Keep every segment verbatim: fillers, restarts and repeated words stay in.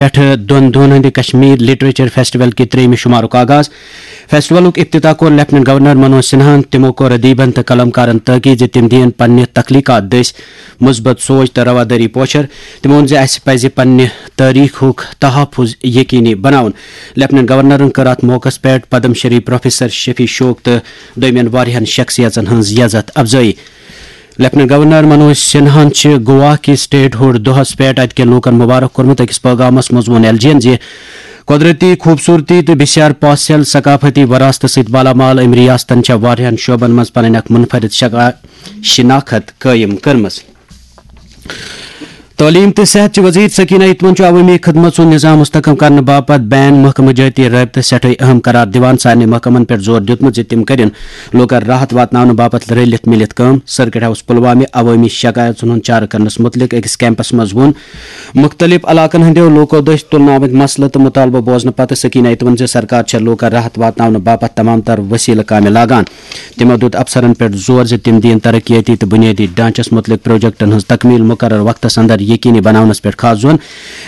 پٮ۪ٹھٕ دۄن دۄہَن ہٕنٛدِ کشمیر لٹریچر فیسٹیول کہِ ترٛیٚیِمہِ شُمارُک آغاز۔ فیسٹیولُک افتتاح کوٚر لیفٹیننٹ گورنر منوج سنہاہن۔ تِمو کوٚر ادیبن تہٕ قلمکارن تٲکید زِ تِم دِیِن پننہِ تخلیقات دٔسۍ مثبت سوچ تہٕ روادٲری پوچھر۔ تِمو ووٚن زِ اسہِ پزِ پننہِ تٲریخُک تحفظ یقینی بناوُن۔ لیفٹیننٹ گورنرن کٔر اتھ موقعس پٮ۪ٹھ پدم شری پروفیسر شفیع شوق تہٕ دوٚیمٮ۪ن واریاہن شخصیژن ہٕنٛز یزتھ افزٲیی۔ لیفٹیننٹ گورنر منوج سنہاہن چھِ گوا کہِ سٹیٹ ہُڈ دۄہس پٮ۪ٹھ اتہِ کٮ۪ن لوٗکن مبارک کوٚرمُت۔ أکِس پٲغامس منٛز ووٚن ایل جی ین زِ قۄدرتی خوٗبصوٗرتی تہٕ بسیار پاسیل ثقافتی وراثتہٕ سۭتۍ مالا مال أمۍ ریاستن چھےٚ واریاہن شعبن منٛز پنٕنۍ اکھ منفرد شکا-، شناخت قٲیِم کٔرمٕژ۔ تعلیم تہٕ صحت چہِ وزیر سکینہ اتمن چھُ عوٲمی خدمت سُنٛد نظام مستحکم کرنہٕ باپتھ بین محکمہٕ جٲتی رٲبطہٕ سٮ۪ٹھاے اہم قرار دِوان۔ سارنٕے محکمن پٮ۪ٹھ زور دیُتمُت زِ تِم کٔرِن لوٗکن راحت واتناونہٕ باپتھ رٔلِتھ مِلِتھ کٲم۔ سرکٹ ہاوس پلوامہِ عوٲمی شکایژن ہُنٛد چارٕ کرنس مُتعلق أکِس کیمپس منٛز ووٚن مُختٔلِف علاقن ہٕنٛدیو لوٗکو دٔسۍ تُلنہٕ آمٕتۍ مسلہٕ تہٕ مُطالبہٕ بوزنہٕ پتہٕ سکینہ اتمن زِ سرکار چھےٚ لوٗکن راحت واتناونہٕ باپتھ تمام تر وسیلہٕ کامہِ لاگان۔ تِمو دیُت افسرن پٮ۪ٹھ زور زِ تِم دِیِن ترقیٲتی تہٕ بُنیٲدی ڈھانچس مُتعلق پروجیکٹن ہٕنٛز تکمیل مقرر وقتس اندر یقینی بناونس پٮ۪ٹھ خاص زون۔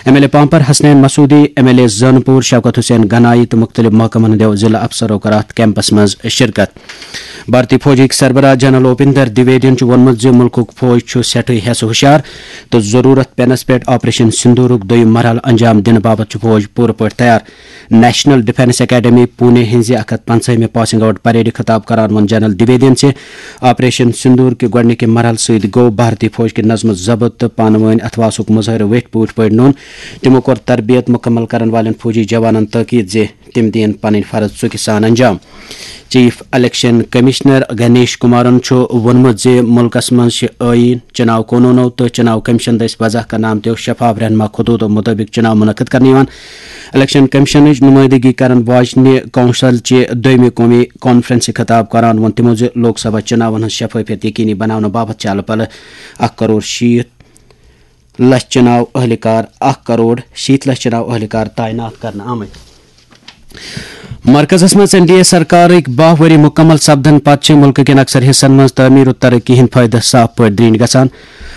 M L A Pampore Hasnain Masoodi, M L A Zainapora Shaukat Hussain Ganai تہٕ مُختٔلِف محکمن ہٕنٛدیو ضلع افسرو کٔر اتھ کیمپس منٛز شرکت۔ بھارتی فوجٕکۍ سربراہ جنرل اوپیندر دویدین چھُ ووٚنمُت زِ مُلکُک فوج چھُ سٮ۪ٹھٕے ہٮ۪س ہُشار تہٕ ضروٗرت پینس پٮ۪ٹھ آپریشن سندوٗرُک دوٚیُم مرحلہٕ انجام دِنہٕ باپتھ چھُ فوج پوٗرٕ پٲٹھۍ تیار۔ نیشنل ڈیفنس اکیڈمی پونے ہٕنٛزِ اکھ ہتھ پنٛژاہمہِ پاسنگ آؤٹ پریڈ خطاب کران ووٚن جنرل دویدین زِ آپریشن سندور کہِ گۄڈٕنِکہِ مرحلہٕ سۭتۍ گوٚو بھارتی فوج کہِ نظم و ضبط تہٕ پانہٕ وٲنۍ اتھواسُک مظٲہرٕ ویٹھۍ پوٗٹھۍ پٲٹھۍ نوٚن۔ تِمو کوٚر تربیت مُکمل کرن والٮ۪ن فوجی جوانن تاکید زِ تِم دِیِن پنٕنۍ فرض ژُکہِ سان انجام۔ Chief election commissioner Ganesh Kumaran چھُ ووٚنمُت زِ مُلکس منٛز چھِ ٲییٖن، چُناو قونوٗنو تہٕ چُناو کمیشن دٔسۍ وضع کرنہٕ آمتیو شفاف رہنما خطوٗطو مُطٲبِق چُناو منعقد کرنہٕ یِوان۔ الیکشن کمیشنٕچ نُمٲیندگی کرن واجنہِ کونسل چہِ دوٚیمہِ قومی کانفرنسہِ خطاب کران ووٚن تِمو زِ لوک سبھا چُناون ہٕنٛز شفٲفیت یقینی بناونہٕ باپتھ چھِ الہٕ پلہٕ اکھ کرور شیٖتھ لچھ چُناو اہلکار، اکھ کرور شیٖتھ لچھ چُناو اہلکار تعینات کرنہٕ آمٕتۍ۔ مرکزس منٛز این ڈی اے سرکارٕکۍ باہ ؤری مُکمل سپدن پتہٕ چھِ مُلکہٕ کٮ۪ن اکثر حصن منٛز تعمیٖر و ترقی ہٕنٛدۍ فٲیدٕ صاف پٲٹھۍ درٛنۍ گژھان۔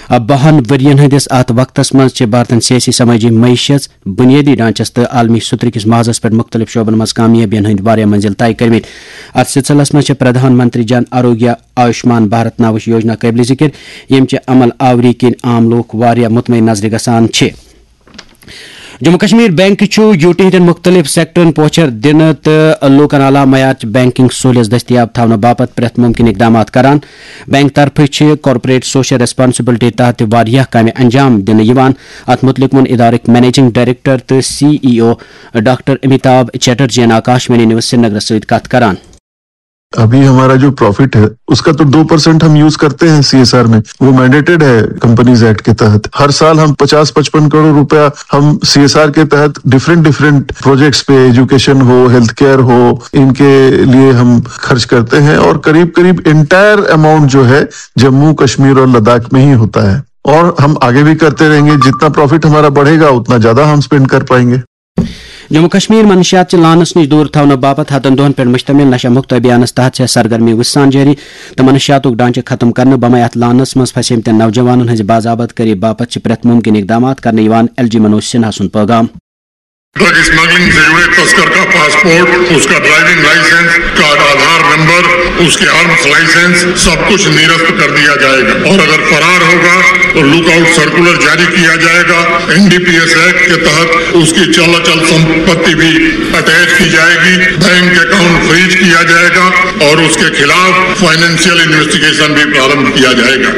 بہن ؤرین ہٕنٛدِس اتھ وقتس منٛز چھِ بھارتن سیٲسی سمٲجی معیشت، بنیٲدی ڈھانچس تہٕ عالمی سترٕ کِس محاذس پٮ۪ٹھ مُختٔلِف شعبن منٛز کامیٲبین ہٕنٛدۍ واریاہ منزل طے کٔرمٕتۍ۔ اتھ سلسلس منٛز چھِ پردھان منتری جن آروگیہ آیوشمان بھارت ناوٕچ یوجنا قٲبلِ ذِکِر، ییٚمہِ چہِ عمل آوری کِنۍ عام لوٗکھ واریاہ مطمئن نظرِ گژھان چھِ۔ جموں کشمیر بینک چھُ یوٗٹی ہٕنٛدٮ۪ن مُختٔلِف سیکٹرن پوچھر دِنہٕ تہٕ لوٗکن اعلیٰ معیارٕچ بینکنگ سہولیژ دٔستیاب تھاونہٕ باپتھ پرٛٮ۪تھ مُمکِن اقدامات کران۔ بینک طرفہٕ چھِ کارپوریٹ سوشل ریسپانسبلٹی تحت تہِ واریاہ کامہِ انجام دِنہٕ یِوان۔ اتھ مُتعلِق ووٚن ادارٕکۍ منیجنگ ڈائریکٹر تہٕ سی ای او ڈاکٹر امیتابھ چیٹرجی ین آکاشوانی نیوز سرینگرس سۭتۍ کتھ کران۔ अभी हमारा जो प्रॉफिट है, उसका तो दो परसेंट हम यूज़ करते हैं सीएसआर में, वो मैंडेटेड है कंपनीज एक्ट के तहत। हर साल हम पचास पचपन करोड़ रुपया हम सीएसआर के तहत डिफरेंट डिफरेंट प्रोजेक्ट्स पे, एजुकेशन हो, हेल्थ केयर हो, इनके लिए हम खर्च करते हैं। और करीब करीब एंटायर अमाउंट जो है, जम्मू कश्मीर और लद्दाख में ही होता है। और हम आगे भी करते रहेंगे। जितना प्रॉफिट हमारा बढ़ेगा, उतना ज़्यादा हम स्पेंड कर पाएंगे। جموں کشمیر منشیات چہِ لانس نِش دوٗر تھاونہٕ باپتھ ہتن دۄہن پٮ۪ٹھ مشتمل نشہ مکت ابھیانس تحت چھےٚ سرگرمی وُژھ سان جٲری تہٕ منشیاتُک ڈھانچہٕ ختم کرنہٕ بمے اتھ لانس منٛز پھسیمتٮ۪ن نوجوانن ہٕنٛزِ باضابط کٲری باپتھ چھِ پرٛٮ۪تھ مُمکِن اقدامات کرنہٕ یِوان۔ ایل جی منوج سنہا سُنٛد پٲغام۔ ڈرگ اسمگلنگ سے جڑے تسکر کا پاسپورٹ، اس کا driving licence, card Aadhaar number, اس کے آرمز لائسنس، سب کچھ نرست کر دیا جائے گا اور اگر فرار ہوگا تو لک آؤٹ سرکولر جاری کیا جائے گا۔ N D P S act کے تحت اس کی چل اچل سمپتی بھی اٹیچ کی جائے گی۔ بینک اکاؤنٹ فریز کیا جائے گا اور اس کے خلاف فائنینشیل انویسٹیگیشن بھی پرارمبھ کیا جائے گا۔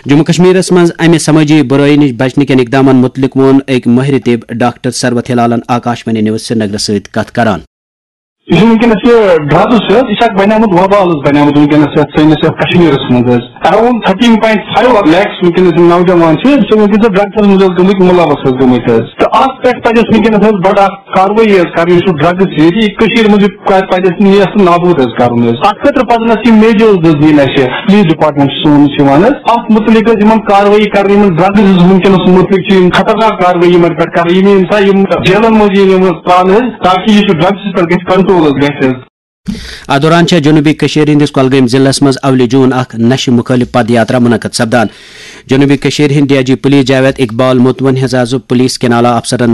جموں کشمیرس منٛز امہِ سمٲجی برٲیی نِش بچنہٕ کٮ۪ن اقدامن مُتعلق ووٚن أکۍ مٲہرِ طب ڈاکٹر ثروت ہلالن آکاشوانی نیوز سرینگرس سۭتۍ کتھ کران۔ یہِ چھُ وٕنکیٚنَس یہِ ڈرگٕز چھُ حظ، یہِ چھُ اکھ بَنیومُت وبال حظ بَنیومُت وٕنکیٚنَس یَتھ سٲنِس یَتھ کشمیٖرَس منٛز حظ۔ Around thirteen point five lakhs وٕنکیٚنَس یِم نوجوان چھِ، یِم چھِ وٕنکیٚنَس ڈرگسَس منٛز حظ گٔمٕتۍ مُلوث حظ گٔمٕتۍ حظ۔ تہٕ اَتھ پٮ۪ٹھ پَزِ اَسہِ وٕنکیٚنَس حظ بَڑٕ اَکھ کاروٲیی حظ کَرٕنۍ، یُس یہِ ڈرگٕز چھِ ییٚتہِ کٔشیٖرِ منٛز یہِ پَزِ اَسہِ نیست نابوٗد حظ کَرُن حظ۔ اَتھ خٲطرٕ پَزَن اَسہِ یِم میجٲرٕز حظ نِنۍ اَسہِ، پُلیٖس ڈِپارٹمنٹ چھُ سون، یُس یِوان حظ، اَتھ مُتعلِق حظ یِمَن کاروٲیی کَرٕنۍ، یِمَن ڈرگٕز حظ وٕنکیٚنَس مُتعلِق چھِ یِم خطرناک کاروٲیی یِمَن پٮ۪ٹھ کَرٕنۍ، یِم یِم سا یِم جیلَن منٛز یِن یِم حظ ترٛاونہٕ حظ، تاکہِ یہِ چھُ ڈرگسَس پٮ۪ٹھ گژھِ کنٹرول حظ گژھِ حظ۔ اتھ دوران چھےٚ جنوبی کشمیر ہٕنٛدِس کۄلگٲمۍ ضلعس منٛز اولہِ جون اکھ نشہٕ مُخٲلف پد یاترا منعقد سپدان۔ جنوبی کشمیر ہند D I G police Javed Iqbal متون ہز آز پولیس کین اعلیٰ افسرن